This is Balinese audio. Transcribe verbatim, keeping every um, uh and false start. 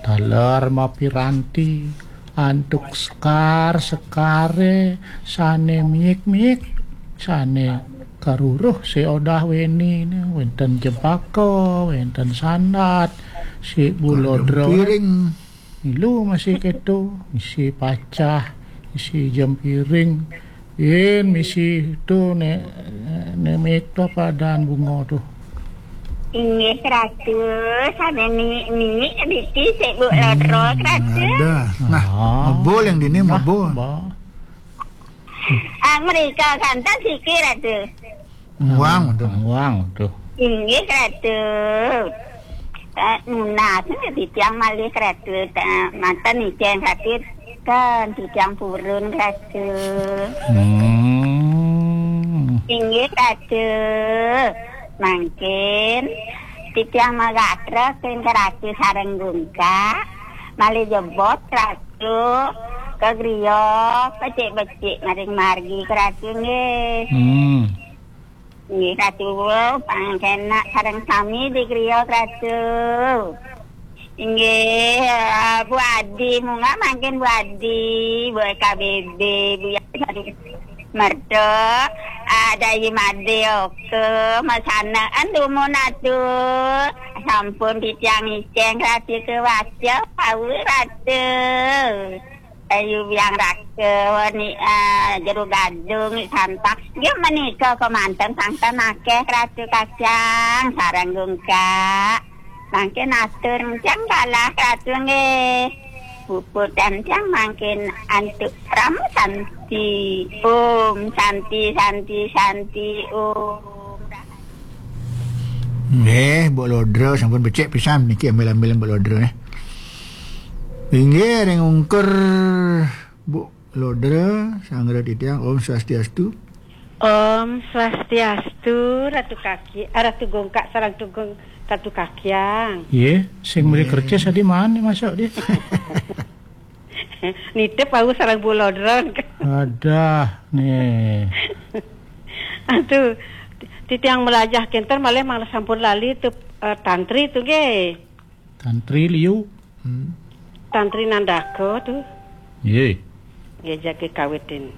Taler mapiranti antuk sekar-sekare sane miik-miik, sane karuruh seodah wenine, wenten jebaka, wenten sandat, si bulodra. Piring. Milu masih keto, misi pacah, misi jempiring, yen misi tu ne, ne miik tu apa dan bunga tu. Inggih, Ratu, sane ni, ni, diti sik Bu Lodra, Ratu. Ada. Nah, ah, mebul yang dini, nah, mebul. Ba. Ah, mereka kantas siki, Ratu. Nguang tu. Nguang tu. Inggih, Ratu. Eh, nunas titiang malih, Ratu. Eh, manten icen, Ratu. Kan titiang purun, Ratu. Hmm. Inggih, Ratu. Mangkin titiang magatra ring Ratu sareng Gungkak. Malih jebos, Ratu. Ka griya, becik-becik maring margi, Ratu, nggih. Hmm. Nggih, Ratu, pangkenak sareng sami di griya, Ratu. Inggih, eh, Bu Adi, munggah mangkin Bu Adi, Bu K B B, Bu Yati, Ratu. Merta, ah, Dayi Made, oke, masanaan dumun atu. Sampun titiang icen, Ratu, kewaca, wau, Ratu. Ayu Biang Raka, ni, ah, Jero Gadung, Santak. Nggih menika kemanten sangkan akeh Ratu Kacang sareng Gungkak. Mangkin atur encang kalah Ratu nggih. Puput encang mangkin antuk Ram Santi. Om Santi, Santi, Santi, Om. Nggih, Bu Lodra sampun becik pisan niki ambil-ambil Bu Lodra, eh. Inggih, ring ungkur Bu Lodra, sanggra titiang, Om Swastiastu. Om Swastiastu, Ratu Kaki, ah, Ratu Gongkak, sareng Tugung, Ratu Kakiang. Iya, sing beli kerja tadi mana masuk dia? Nitip aku sareng Bu Lodra. Adah, nih. Aduh, titiang melajah kenten malih malah sampun lali tu, eh, tantri tu nggih. Tantri liu. Hmm. Tantri Nandaka tu. Nggih. Nggih, jagi kawitin.